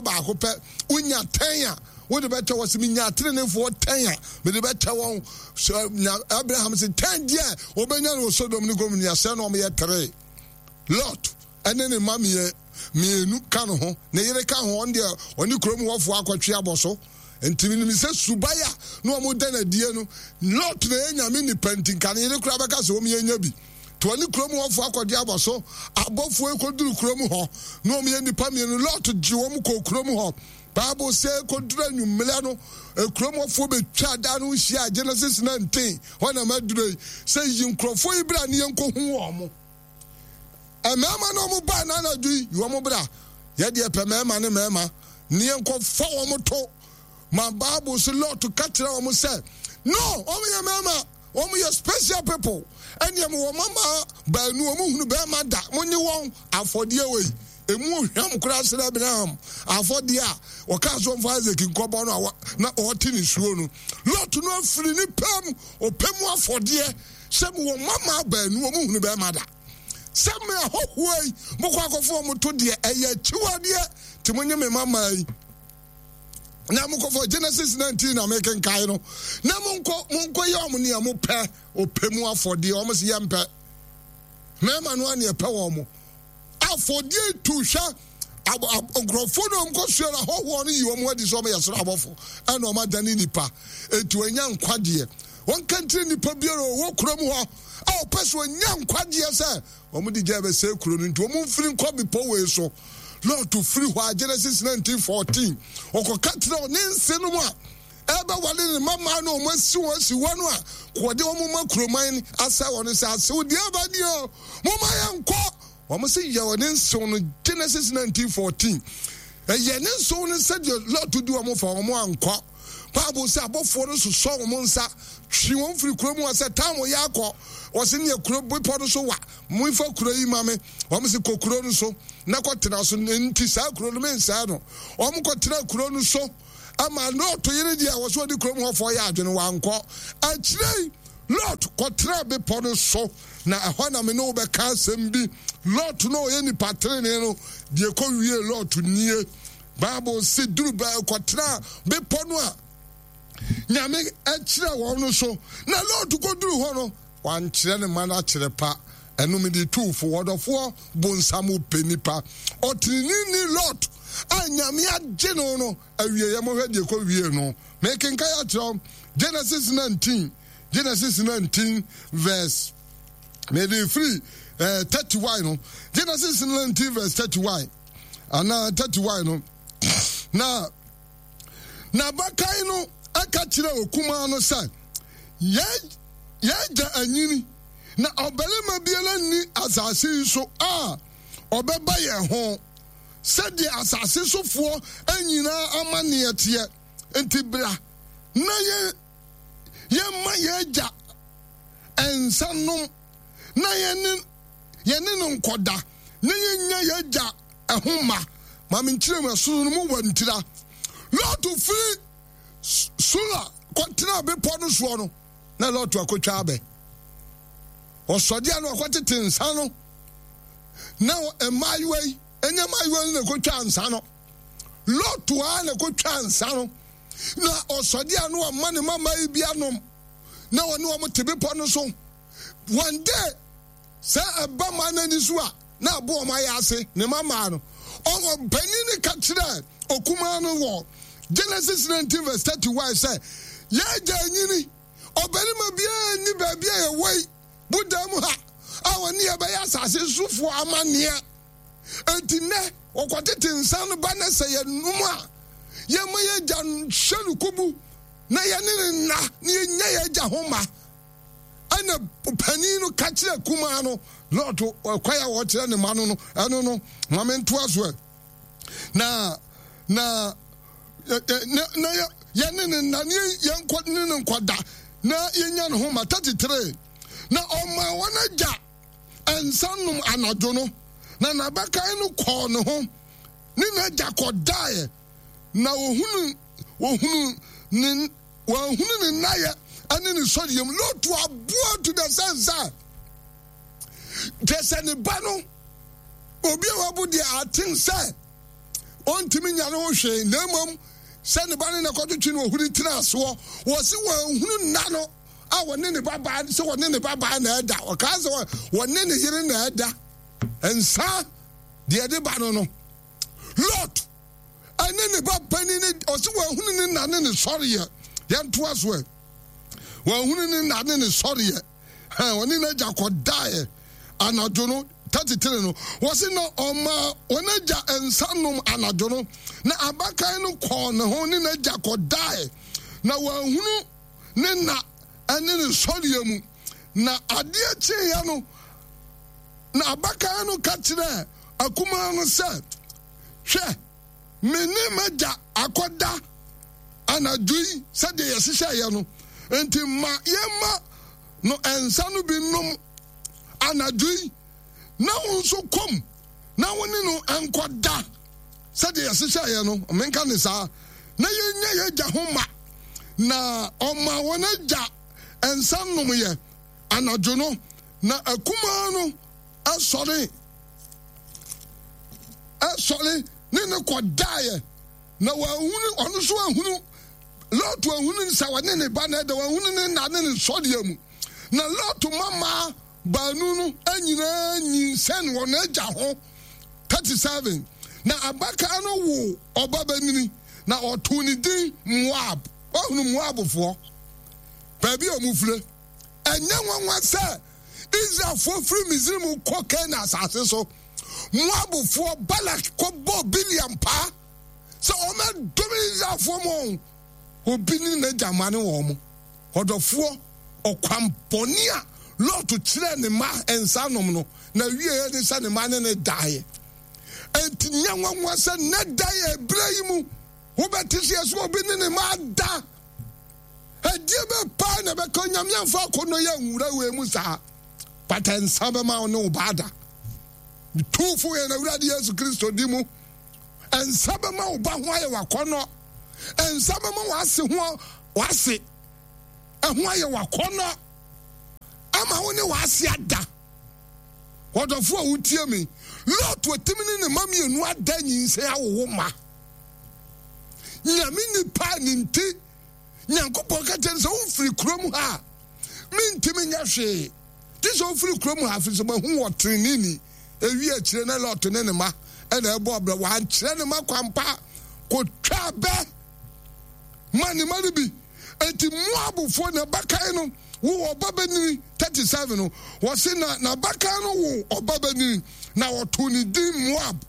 Baako pɛ, wonya tɛn a wode bɛkyɛ wɔ sɛ menya atenenefoɔ tɛn a mede bɛkyɛ wɔn. Sɛ na Abraham sɛ tɛn deɛ wɔbɛnya no wɔ Sodom ne Gomorrah sɛ na wɔyɛ tere. Lot ɛne ne mma mmienu ka no ho, ne yere ka ho, ɔno deɛ ɔne kurom hɔfoɔ akɔtwe abɔ so. Nti menim sɛ suban a na wɔn da no adie no, Lot na ɛyɛ nyame nipa nti nka ne yere koraa bɛka sɛ wɔn yɛnya bi. To ɔne kurom hɔfoɔ akɔgye abɔ so. Abɔfoɔ yi kɔduru kurom hɔ, na wɔyɛ nnipa mmienu. Lot gye wɔn kɔɔ kurom hɔ. Bible sɛ kɔduru anwummerɛ no, kurom hɔfoɔ bɛtwa dan no ho hyia. Genesis 19, hɔ na maduru yi. Sɛ yi nkurɔfoɔ yi bra ne yɛnkɔhu wɔn. Mmarima no wɔn baa no anadwo yi, yi wɔn bra. Yɛdeɛ pɛ mmarima ne mmarima ne yɛnkɔfa wɔn to. Ma Bible so Lot ka kyerɛ wɔn sɛ, no, wɔn yɛ mmarima. Wɔn yɛ special people. Ɛnneɛ mo wɔ mama baanu wɔn hunu bɛrima da. Mo nye wɔn afɔdeɛ wei. Emu ohwam koraa srɛ Abraham afɔdeɛ a ɔkaa so ɔmfa Isaac nkɔbɔ no a na ɔte ne suo no. Lot no afiri ne pɛ mu ɔpɛ mu afɔdeɛ sɛ mo wɔ mama baanu wɔn hunu bɛrima da. Sɛ me ahɔhoɔ yi mokɔ akɔfo wɔn to deɛ ɛyɛ akyiwadeɛ te mo nye me mama yi. Na mokɔfɔ Genesis 19 na mekenkae no na monkɔ monkɔ yɛ ɔmo nea mopɛ ɔpɛ mu afɔdeɛ ɔmo sɛ yɛmpɛ mmarima no a nea ɛpɛ wɔn mo afɔdeɛ tu hwɛ nkurɔfoɔ no ɔmo kɔsua no ahɔhoɔ no yi wɔn adi sɛ ɔmo yɛ soro abɔfo ɛna ɔmo adane nipa eti wɔanya nkwagyeɛ wɔnka nkyerɛ nipa biara ɔwɔ kurom hɔ a ɔpɛ sɛ ɔnya nkwagyeɛ sɛ Wɔde gya rebɛsɛe kuro no nti, wɔmfiri nkɔ bepɔ wei so. Lot firi hɔ a, Genesis 19:14, ɔkɔka kyerɛ ne nsenom a ɛbɛwale ne mmammaa no wɔn asi wɔn asi hɔ no a, wɔde wɔn ma kuroman asɛe wɔn sɛ asew deɛ ɛba ni o, momma yɛnkɔ. Wɔn se yɛ wɔn nsew no, Genesis 19:14. Ɛyɛ ne nsew no sɛdeɛ Lot di wɔn fa wɔn ankɔ. Bible sɛ abɔfoɔ no sosɔ wɔn nsa twe wɔn firi kuro mu hɔ sɛ tam yɛ akɔ. Wɔse neɛ kuro bepɔ no so wa, momfa kuro yi ma me. Wɔn se kɔ kuro no so na kɔtena so, nti saa kuro no mensɛe no. Wɔn kɔtena kuro no so ama Lot yere deɛ wɔ so ɔde kurom hɔfoɔ yɛ adwene wankɔ. Akyire yi Lot kɔtena bepɔ no so na ɛhɔ na me ne wo bɛka asɛm bi. Lot no ɔyɛ nipa tenenee no deɛ kɔwie Lot nie. Bible se duru bɛɛ kɔtenaa bepɔ no a Nyame kyerɛ wɔn no so. Na Lot kɔduru hɔ no, wankyerɛ ne mma no akyerɛ pa. Ɛno mede tuu fo. Ɔdɔfoɔ bonsam pɛ nipa. Ɔteneneeni Lot a Nyame agye no no, awieɛ mohwɛ deɛ kɔwie no. Mekenkan akyerɛ wo Genesis 19, Genesis 19 verse mede firi eh, 31 no. Genesis 19 verse 31. anaa 31 no, na n'abakan no ka kyerɛɛ okumaa no sɛ, Yɛn agya anyini, na ɔbarima biara nni asase yi so a ɔbɛba yɛn ho sɛdeɛ asase sofoɔ nyinaa amanneɛ teɛ. Enti bra na yɛmma yɛn agya nsa nnom na yɛne yɛne no nkɔda na yɛnya yɛn agya ɛho mma. Ma menkyerɛ mu, ɛsono no mu wɔ ntira. Lot firi Sula kɔtena bepɔ no soɔ no, na Lot akɔtwa abɛ. Ɔsɔdeɛ no ɔkɔtete nsa no, na mmaayewa yi, ɛnyɛ mmaayewa no na ɛkɔtwa nsa no. Lot a na ɛkɔtwa nsa no, na ɔsɔdeɛ no ɔma ne mmammaa yi bi anom, na ɔne wɔn te bepɔ no so. One day, sɛ ɛba mmaa no ani so a, na abo wɔn ayɛ ase, ne mma mmaa no. Ɔpanin no ka kyerɛɛ okumaa no wɔ Genesis 19 verse 31 sɛ, Yɛn agya anyini, ɔbarima biara nni baabi a yɛwɔ yi, bodan mu ha, a ɔne yɛn bɛyɛ asase sofoɔ amanneɛ. Enti nnɛ, wɔkɔtete nsa no ba na sɛ yɛnom a, yɛma yɛn agya hyɛ no kubu na yɛne no nna na yɛnya yɛn agya ho mma. Ɛna panin no ka kyerɛ kumaa no, Lot, ɔkwan a wɔkyerɛ ne mma no no, ɛno no, ma mentoa so ɛ. Na, na, na, na yɛne ne nna, ne yɛnkɔ ne ne nkɔda, na yɛnya ne ho ma. 33 na ɔmaa wɔn agya nsa nom anadwo no, na n'abakan no kɔɔ ne ho, ne n'agya kɔdaeɛ, na ohunu, ohunu ne Wɔanhunu ne nnayɛ ne ne sɔreɛ mu. Lot aboa to the sense sɛ kyɛ sɛ ne ba no obi a wabu deɛ aten sɛ Ɔntumi nya ne ho hwee, na mmom sɛ ne ba ne na kɔtwetwe no ohuri tena soɔ. Wɔsi wɔanhunu nna no a wɔne ne ba baa sɛ wɔne ne ba baa na ɛda. Ɔkaa sɛ wɔne ne yere na ɛda. Nsa deɛ ɛde ba no no. Lot ɛne ne ba panin ne ɔsi wɔahunu ne nna ne ne sɔreɛ. Yɛntoa so ɛ. Wɔahunu ne nna ne ne sɔreɛ. Hɛn, ɔne n'agya kɔdaeɛ anadwo no, 33 no, wɔse na ɔmaa wɔn agya nsa nom anadwo no, na abakan no kɔɔ ne ho ne n'agya kɔdaeɛ, na wɔanhunu ne nna ne ne sɔreɛ mu. Na adeɛ kyeeɛ no, na abakan no ka kyerɛɛ akumaa no sɛ, Hwɛ, me ne m'agya akɔda anadwo yi sɛdeɛ yɛhyehyɛeɛ no, enti ma yɛmma no nsa no bi nnom anadwo yi, na wo nso kɔm na wo ne no nkɔda sɛdeɛ yɛhyehyɛeɛ no, menka ne saa, na yɛnya yɛn agya ho ma. Na ɔma wɔn agya nsa nomyɛ anadwo no, na akumaa no sɔre sɔre ne no kɔdaeɛ, na wɔahunu ɔno nso ahunu Lot ahunu sɛ ɔne ne ba na ɛda, wɔahunu ne nna ne ne sɔreɛ mu. Na Lot mama baanu no nyinaa nyinsɛn wɔn agya ho. 37 na abakan no woo ɔbabanini, na ɔtoo ne din Moab. Woahunu Moabfoɔ baabi a wɔfire? Ɛnyɛ nwanwa sɛ Israelfoɔ firi Misraim kɔ Kanaan asase so. Moabfoɔ Balak kɔbɔɔ Bileam paa sɛ ɔmmɛdome Israelfoɔ ma wɔn. Obi ne n'agya mane wɔn. Ɔdɔfoɔ, ɔkwan bɔne a Lot kyerɛɛ ne mma nsa nom no, n'awieeɛ ne sɛ ne mma ne no daeɛ. Enti nyɛ nwanwa sɛ nnɛ da yi ɛberɛ yi mu wobɛte sɛ yɛsɛ obi ne ne mma ada. Ɛdeɛ bɛ paa na ɛbɛka Onyame amfa akɔnnɔ yi anwura wei mu saa. But nsa bɛma wo ne wo ba ada. Metu fo yɛn Awurade Yesu Kristo di mu. Nsa bɛma wo ba ho ayɛ wakɔnnɔ. Nsa bɛma w'ase ho w'ase ɛho ayɛ wakɔnnɔ ama wo ne w'ase ada. Ɔdɔfo a wotie me, Lot otimi ne ne mma mmienu ada nyinsɛn awowo ma. Nyame nipa a ne nti Nyankopɔn ka kyerɛ no sɛ womfiri kurom ha a mentumi nyɛ hwee gye sɛ wofiri kurom ha afiri sɛ mahu wɔ teneneeni. Ewie akyire na Lot ne ne mma ɛna ɛbɔ ɔbrɛ wankyerɛ ne mma kwampa kɔtwa bɛ ma ne mma no bi. Enti Moabfoɔ na ɛbakan no wo ɔbabanini 37 no wɔse na n'abakan no wo ɔbabanini na wɔtoo ne din Moab.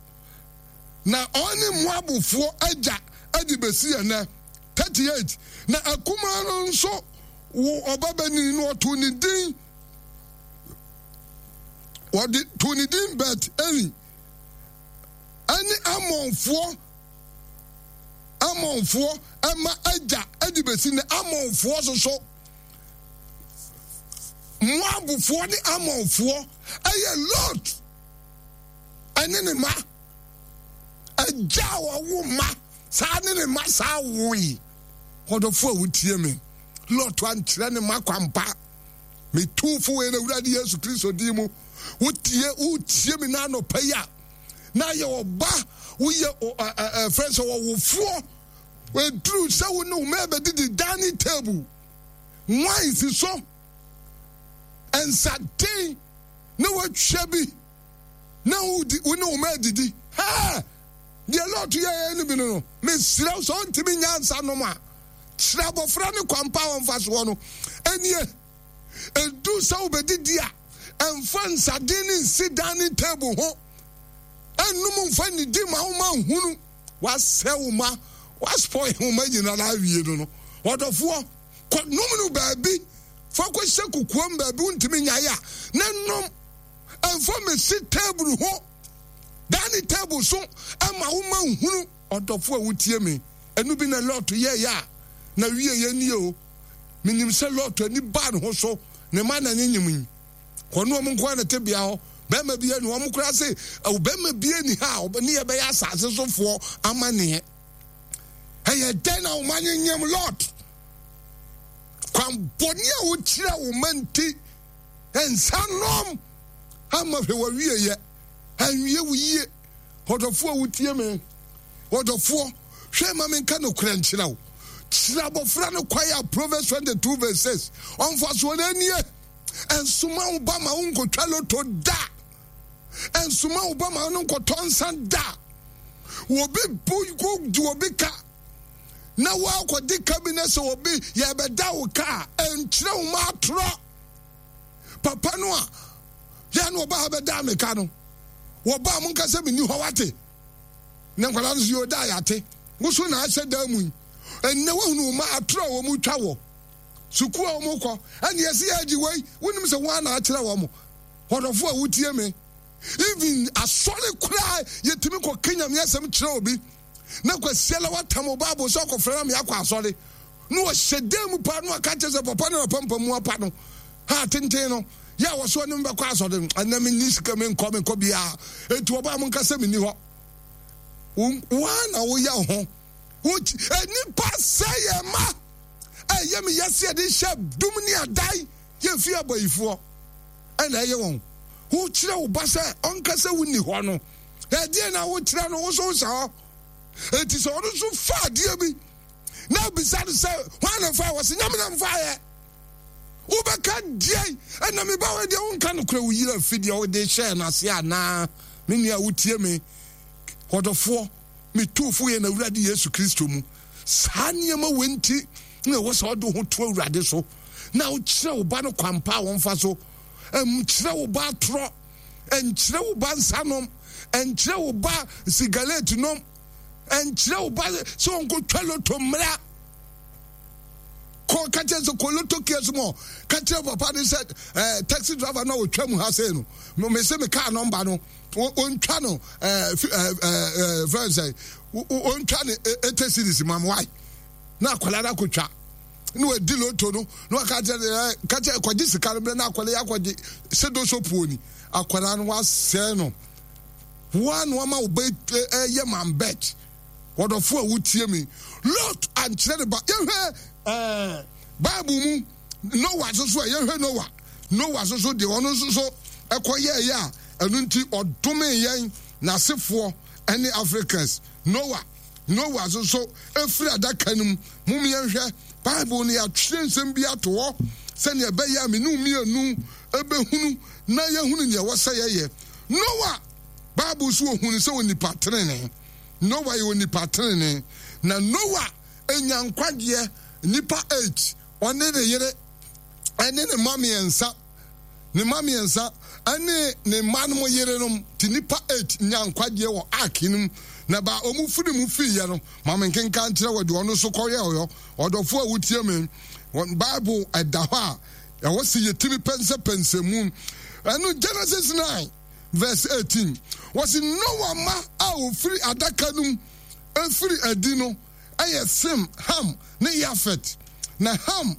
Na ɔne Moabfoɔ agya de bɛsi ɛnnɛ. 38 na akumaa no nso wo ɔbabanin no ɔtoo ne din wɔde too ne din Bet Eli ɛne Amonfoɔ Amonfoɔ ɛma agya de bɛsi nnɛ. Amonfoɔ soso Moabfoɔ ne Amonfoɔ ɛyɛ Lot ɛne ne mma. Agya a ɔwo mma saa ne ne mma saa woe. Ɔdɔfo a wotie me, Lot ankyerɛ ne mma kwampa. Metu fo wɔ yɛn Awurade Yesu Kristo din mu. Wotie wotie me na anɔpa yi a na ayɛ ɔba woyɛ ɛfrɛ sɛ ɔwofoɔ ɛduru sɛ wo ne wo mma bɛdidi dining table wine si so nsaden na watwa bi na wodi wo ne wo mma adidi. Hɛɛ! Deɛ Lot yɛeɛ no bi no no, mesrɛ wo sɛ ɔntumi nya nsa nom a, kyerɛ abɔfra no kwan pa a ɔmfa soɔ no. Ɛnie, ɛduru sɛ wobɛdidi a, ɛmfa nsaden no nsi dining table ho. Ɛnnom mfa nnidi ma wo mma nhunu. Wasɛe wo mma, waspoil wo mma nyinaa awie no no. Ɔdɔfoɔ, kɔ nom no baabi, fa kɔhyɛ kokoam baabi wontumi nyae a, na nom. Mfa mmesi table ho, dining table so ma wo mma nhunu. Ɔdɔfo a wutie me, ɛno bi na Lot yɛeɛ a na wieɛ nie o. Menim sɛ Lot ani baa ne ho so, ne mma na ne nyem yi. Wɔne wɔn nko ara na ɛte bea hɔ. Barima bi ani wɔn koraa se, barima bi ani ha a ne yɛbɛyɛ asase sofoɔ amanneɛ. Ɛyɛ dɛn na wo mma nyenyem Lot? Kwan bɔne a wokyerɛ wo mma nti, Nsa nom ama hwɛ w'awieyɛ anwie wo yie. Ɔdɔfo a wotie me, Ɔdɔfoɔ, hwɛ ma menka nokorɛ nkyerɛ wo. Kyerɛ abɔfra no kwan a Proverbs 22 verse 6 ɔmfa soɔ no nie. Ɛnsoma wo ba ma wo nkɔtwa loto da. Ɛnsoma wo ba ma wo no nkɔtɔ nsa da. Obi bu di obi ka na woakɔdi ka bi na sɛ obi yɛbɛda wo ka a, ɛnkyerɛ wo ma atorɔ. Papa no a yɛ na ɔba ha bɛdaa me ka no, wɔbaa mo nka sɛ menni hɔ wate. Na nkwadaa no so yɛ ɔda a yɛate. Wo so na ahyɛ dan mu yi. Ɛnnɛ woahunu wo ma atorɔ a wɔn twa wɔ sukuu a wɔn kɔ ɛne yɛsi yɛ agye wei. Wonim sɛ wɔn na akyerɛ wɔn. Ɔdɔfo a wotie me. Even asɔre koraa yɛtumi kɔ ka Nyame asɛm kyerɛ obi na kwasiala watam wo Bible sɛ ɔkɔfrɛ na meakɔ asɔre na ɔhyɛ dan mu paa na waka kyerɛ sɛ papa no na pampa mu apa no ha tenten no yɛ a wɔso ɔne bɛkɔ asɔre no ɛnna menni sika menkɔ menkɔ biara enti wɔbaa mo nka sɛ menni hɔ woa na woyɛ ho nnipa sɛ yɛ ma ɛyɛ me yɛse yɛde hyɛ dum ne adan yɛmfi abayifoɔ ɛna ɛyɛ wɔn wokyerɛ wo ba sɛ ɔnka sɛ wonni hɔ no ɛdeɛ na wokyerɛ no wo so wohyɛ hɔ enti sɛ ɔno nso fa adeɛ bi na abisa no sɛ hwan na fa wɔ se nyame na mfaeɛ wobɛka deɛ ɛna me ba wɔ deɛ wonka nokorɛ wo yere afi deɛ wode hyɛɛ no ase anaa me nua wotie me ɔdɔfoɔ metu fo yɛ na awurade Yesu Kristo mu saa nneɛma wɔ nti na ɛwɔ sɛ ɔde ho to awurade so na wokyerɛ wo ba no kwampa a wɔmfa so nkyerɛ wo ba atorɔ nkyerɛ wo ba nsa nom nkyerɛ wo ba sigaret nom nkyerɛ wo ba sɛ ɔnkɔtwa loto mmra kɔ ka kyerɛ sɛ kɔ loto kios mu ka kyerɛ papa no sɛ eh, taxi driver no a ɔtwa mu ha sei no mese me kaa nɔmba no ɔntwa no eh, eh, eh, fɛn sɛ ɔntwa no ɛtɛ series ma wae na akwadaa no akɔtwa na wadi loto no na waka kyerɛ eh, ka kyerɛ kɔgye sika no berɛ na akwadaa yi akɔgye sɛ doso puo ni akwadaa no wasɛe no woa na wama wo ba ɛyɛ man bet wɔdɔfo a wotie mi Lot ankyerɛ ne ba yɛhwɛ ɛɛ Bible mu Noah nso so a yɛhwɛ Noah Noah nso so deɛ ɔno nso so ɛkɔ yɛɛyɛ a ɛno nti ɔdome yɛn n'asefoɔ ɛne Africans Noah Noah nso so efiri adaka no mu mom yɛnhwɛ Bible no yɛatwerɛ nsɛm bi ato hɔ sɛnea ɛbɛyɛ a me ne mmienu ɛbɛhunu na yɛhunu nea ɛwɔ sɛ yɛyɛ Noa, Bible so ohunu sɛ onipa trenee. Noa yɛ onipa trenee. Na Noa nya nkwagyeɛ nnipa 8, ɔne ne yere, ɛne ne mma mmiɛnsa, ne mma mmiɛnsa, ɛne ne mma no yerenom, te nnipa 8 nya nkwagyeɛ wɔ ark no mu. Na ba wɔn firi mu fiiɛ no, ma me nkenka nkyerɛ wɔ deɛ ɔno nso kɔyɛ ɔyɔ. Ɔdɔfo a wotie me, Bible ɛda hɔ a, Ɛwɔ sɛ yɛtumi pɛnsɛpɛnsɛ mu. Ɛno Genesis 9 verse 18. Wɔsi Noa mma a wɔfiri adaka no mu firi adi no yɛ Sem, Ham ne Yafet. Na Ham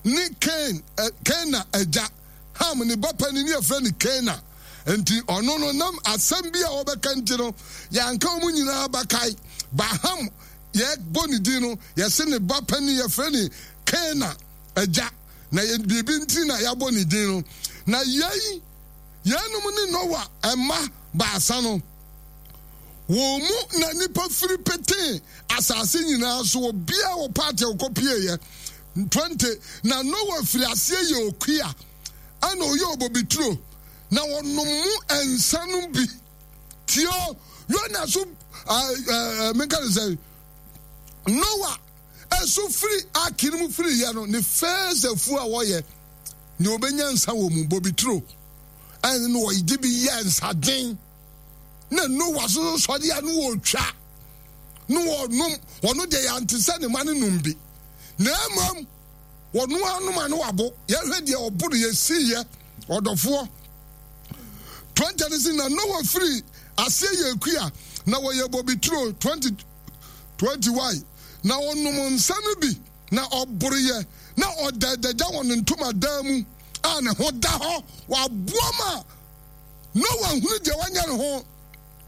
ne Kain, Kana agya. Ham ne ba panin ne yɛfrɛ no Kana. Nti ɔno no nam asɛm bi a wɔbɛka nti no yɛanka wɔn nyinaa bakae. Ba Ham yɛbɔ ne din no yɛse ne ba panin yɛfrɛ ne Kana. Agya, na yɛ biribi nti na yɛabɔ ne din no. Na yei, yeinom ne Noa mma baasa no. Wɔn mu na nnipa firi petee asase nyinaa so, obiara wɔ paati a ɔkɔpieeɛ. 20 na Noa firi aseɛ yɛ okua, ɛna ɔyɛ obobituro, na ɔnom mu nsa no bi. Tio, Yona so, menka ne sɛ, Noa Nso firi ark no mu firiiɛ no, ne first afuo a wɔyɛ, nea ɔbɛnya nsa wɔ mu, bobituro, ɛne no wɔde bi yɛ nsaden. Na Noa so sɔre a no wɔtwa, no wɔnom, wɔno deɛ yɛante sɛ ne ma no nom bi. Na mmom, wɔno anom a no wabo. Yɛhwɛ deɛ ɔbo no yɛsiiɛ, ɔdɔfoɔ. 20 no si na Noa firi aseɛ yɛ kua, na wɔyɛ bobituro 20 21 na ɔnom nsa no bi, na ɔboroeɛ, na ɔda adagya wɔ ne ntomadan mu a ne ho da hɔ. Waboa ma Noa hunu deɛ wanyɛ ne ho.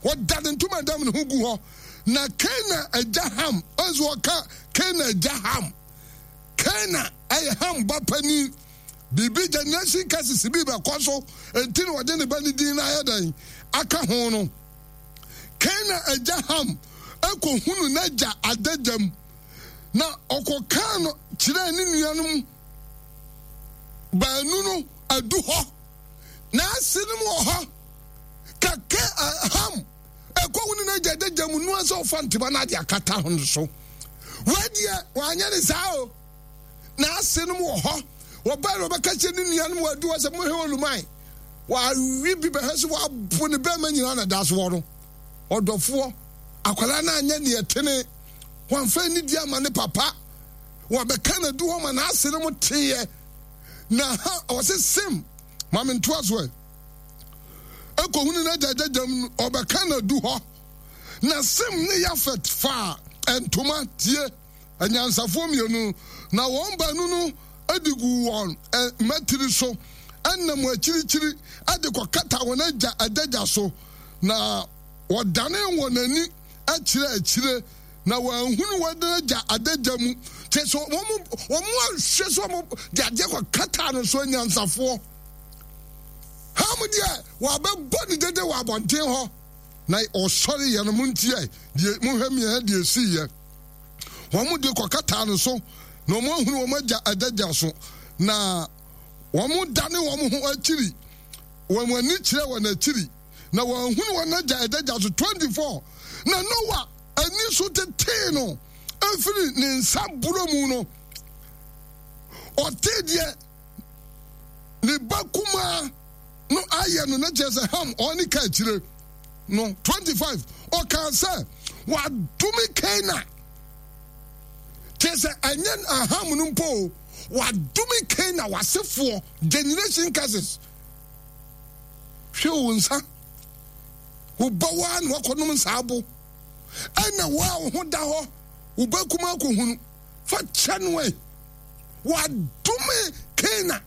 Ɔda ne ntomadan mu ne ho gu hɔ. Na Kanaan agya Ham, nso ɔka Kanaan agya Ham. Kanaan ɛyɛ Ham ba panin. Biribi generation curses bi bɛkɔ so, enti na ɔde ne ba ne din no ayɛ dɛn aka ho no. Kanaan agya Ham. kɔhunu n'agya adagya mu, na ɔkɔkaa no kyerɛɛ ne nuanom baanu no adu hɔ. N'asenom wɔ hɔ. Kɛkɛ Ham ɛkɔhunu n'agya adagya mu noa sɛ ɔfa ntoma no ade akata ho no so. Wei deɛ wanyɛ ne saa o. N'asenom wɔ hɔ. Wɔbae na wɔbɛka kyerɛ ne nuanom wɔ adu hɔ sɛ mohwɛ oluman. Wawe bi bɛhwɛ sɛ wabo ne bɛrima nyinaa na da so wɔ no. Ɔdɔfoɔ, akwadaa no anyɛ deɛ ɛtene. Wamfa anidie ama ne papa. Wɔbɛka no adu hɔ ma n'asenom teeɛ. Na ha ɔse sem ma me ntoa so ɛ. Ɛkɔhunu n'agya gyagyam no, ɔbɛka no adu hɔ. Na Sem ne Yafet faa ntoma, tie, anyansafoɔ mmienu, na wɔn baanu no de guu wɔn mmatiri so nam akyirikyiri de kɔkata wɔn agya adagya so, na wɔdanee wɔn ani kyerɛɛ akyire, na wɔanhunu wɔn agya adagya mu. Kyerɛ sɛ wɔn wɔn anhwɛ sɛ wɔn de adeɛ kɔkataa no so anyansafoɔ. Ham deɛ wɔabɛbɔ ne dede wɔ abɔnten hɔ, na ɔsɔre yɛ no montiɛ deɛ monhwɛ mmiɛnha deɛ ɛsiiɛ. Wɔn de kɔkataa no so, na wɔn ahunu wɔn agya adagya so, na wɔn dane wɔn ho akyiri, wɔn ani kyerɛ wɔn akyiri, na wɔn ahunu wɔn agya adagya so. 24 na Noa ani so tetee no efiri ne nsa borɔ mu no, ɔtee deɛ ne ba kumaa no ayɛ no, na kyerɛ sɛ Ham ɔne ka akyire no. 25 ɔkaa sɛ, Wadome Kana. Kyerɛ sɛ ɛnyɛ Ham no mpo o, wadome Kana wasefoɔ, generation curses. Hwɛ wo nsa, wo ba waa na wakɔnom nsa abo, ɛna wo a wo ho da hɔ, wo ba kumaa kɔhunu, fa kyɛ no ɛ. Wadome Kana.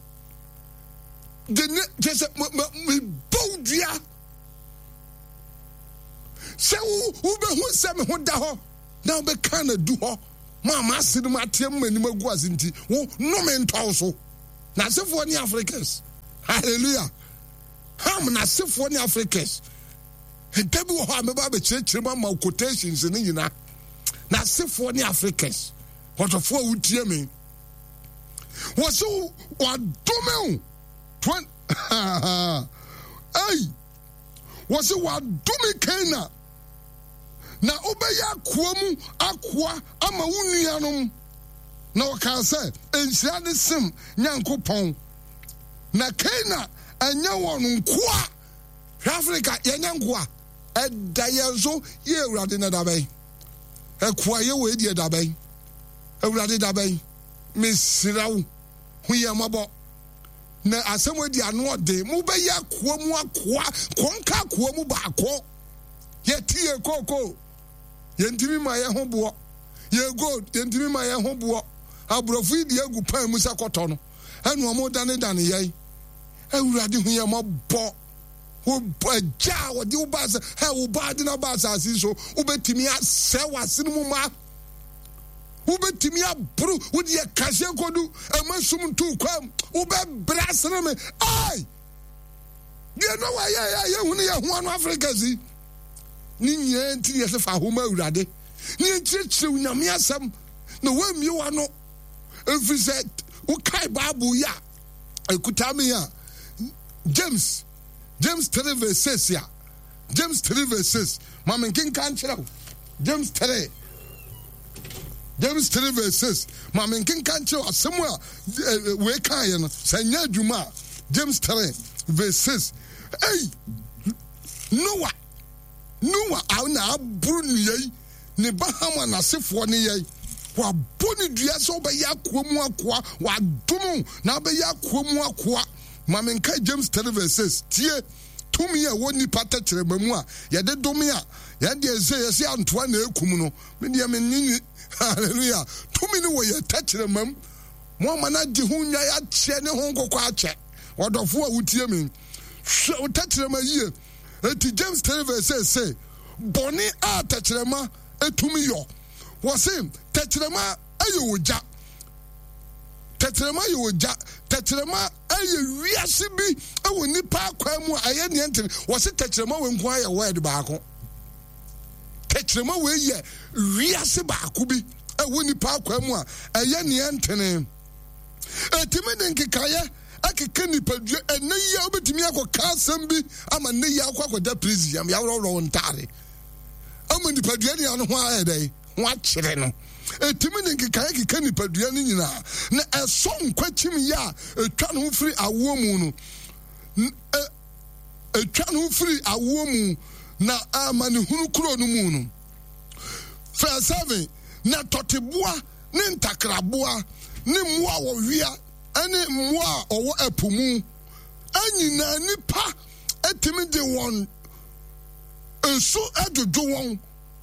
Kyerɛ sɛ mebɔ wo dua sɛ wobɛhu sɛ me ho da hɔ na wobɛka no adu hɔ ma m'ase no mateɛ mu m'anim agu ase nti wo nnome ntɔ wo so. N'asefoɔ ne Africans. Hallelujah. Ham n'asefoɔ ne Africans. Ɛda bi wɔ hɔ a mɛba abɛkyerɛkyerɛ mu ama quotations no nyinaa. N'asefoɔ ne Africans. Ɔdɔfoɔ a wotie me. Wɔse wadome wo. Ei, wɔse wadome Kana na wobɛyɛ akoa mu akoa ama wo nuanom. Na ɔkaa sɛ, Nhyira ne Sem Nyankopɔn. Na Kana ɛnyɛ wɔn nkoa. Hwɛ Afrika, yɛnyɛ nkoa. Ɛda yɛn so yɛ Awurade na da bɛn? Ɛkoa yɛ wɔ edi ɛda bɛn? Awurade da bɛn? Mesrɛ wo, hu yɛn mmɔbɔ. Na asɛm adi ano ɔden. Mobɛyɛ akoa mu akoa, kɔnka akoa mu baako. Yɛte yɛ kookoo, yɛntumi ma yɛn ho boɔ. Yɛ gold, yɛntumi ma yɛn ho boɔ. Aborɔfo yi de agu pan mu sɛ kɔtɔ no, ɛna wɔn danedane yɛn. Awurade hu yɛn mmɔbɔ. Wo agya a wɔde wo ba sɛ, hɛ wo ba de na ba asase so, wobɛtumi asɛ w'asene mu ma. Wobɛtumi aboro wo deɛ kaseɛ kɔdu ɛma sum nto kwam wobɛbrɛ asene me ai deɛ na wayɛ yɛ yɛhunu yɛ ho ano Afrika si ne nyinaa nti ne yɛsɛ fa ahoma awurade ne yɛnkyerɛkyerɛ wo nyame asɛm na woammie w'ano ɛfiri sɛ wokae Bible yi a ɛkuta me a James James 3 verse 6 a James 3 verse 6 ma me nkenka nkyerɛ wo James 3 James 3 verse 6 ma me nkenka nkyerɛ wo asɛm a eh, eh, wei kaeɛ no sɛ nyɛ adwuma a James 3 verse 6 ei Noah Noah a na aboro nnua yi ne ba Ham a n'asefoɔ ne yɛn wabɔ ne dua sɛ wobɛyɛ akoa mu akoa wadom na wobɛyɛ akoa mu akoa ma menka James 3 verse 6 tie Tumi a ɛwɔ nnipa tɛkyerɛma mu a yɛde dome a yɛn deɛ sɛ yɛsɛ antoa na ekum no, me deɛ me nye ni. Hallelujah. Tumi no wɔ yɛn tɛkyerɛma mu. Mo ama no agye ho nnwae akyɛ ne ho nkokɔ akyɛ. Ɔdɔfo a wotie me, hwɛ wo tɛkyerɛma yie. Eti James 3 verse 6 se, bɔne a tɛkyerɛma etumi yɔ. Wɔse tɛkyerɛma yɛ ogya. Tɛkyerɛma yɛ ogya. Tɛkyerɛma yɛ wiase bi wɔ nipa akwan mu a ɛyɛ nea ntene. Wɔse tɛkyerɛma wɔ nko ayɛ word baako. Tɛkyerɛma wei yɛ wiase baako bi ɛwɔ nipa akwaa mu a ɛyɛ neɛ ntene. Ɛtumi de nkekaeɛ ɛkeka nipadua. Ɛnɛ yi a wobɛtumi akɔka asɛm bi ama nnɛ yi akɔ akɔda prison yam yɛaworɔworɔ wo ntaare ama nipadua ne ano ho ayɛ dɛn ho akyerɛ no. Ɛtumi de nkekaeɛ keka nipadua no nyinaa na ɛsɔ nkwakyim yɛ a ɛtwa ne ho firi awoɔ mu no ɛtwa ne ho firi awoɔ mu na amanehunu kuro no mu no. Verse 7 Na tɔteboa ne ntakraboa ne mmoa a wɔwea ne mmoa a wɔwɔ ɛpo mu nyinaa nnipa tumi de wɔn nsu dwodwo wɔn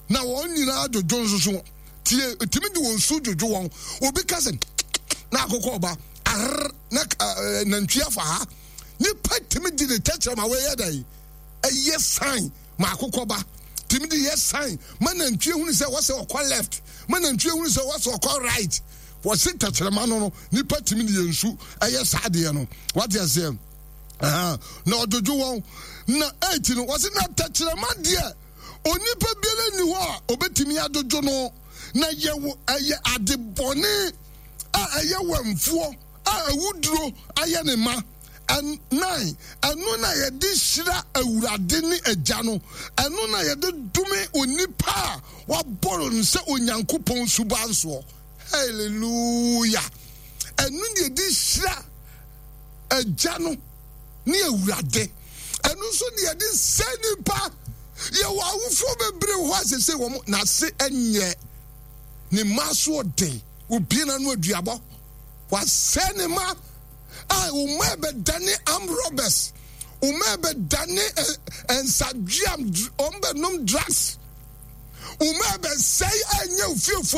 na wɔn nyinaa dwodwo nso so tie tumi de wɔn nsu dwodwo wɔn. Obi ka sɛ na akokɔ ɔba arr na nantwi afa ha. Nipa tumi de ne tɛkyerɛma wɔyɛ dɛ ɛyɛ sign ma akokɔ ba, tumi de yɛ sign ma nantwie hunu sɛ wɔsɛ ɔkɔ left, ma nantwie hunu sɛ wɔsɛ ɔkɔ right. Wɔse tɛkyerɛma no no nipa tumi de yɛ nsu ɛyɛ saa adeɛ no. Wate aseɛ? Na ɔdwodwo wɔn. Na 8 no wɔse na tɛkyerɛma deɛ onipa biara nni hɔ a obetumi adwodwo no, na yɛwɔ ɛyɛ ade bɔne a ɛyɛ wɛmfoɔ a awuduro ayɛ ne ma. 9 ɛno na yɛde hyira Awurade ne Agya no, ɛno na yɛde dome onipa a wabɔ no sɛ Onyankopɔn suban soɔ. Hallelujah! Ɛno na yɛde hyira Agya no ne Awurade. Ɛno nso na yɛde sɛ nipa. Yɛwɔ awofoɔ bebree wɔ hɔ a sese wɔn n'ase nyɛ ne mma so ɔden, obie n'ano aduabɔ, wasɛe ne mma. A wɔn ɛbɛdane armed robbers, wɔn ɛbɛdane nsadweam, wɔn bɛnom drugs, wɔn ɛbɛsɛe ɛnyɛ ofiefoɔ.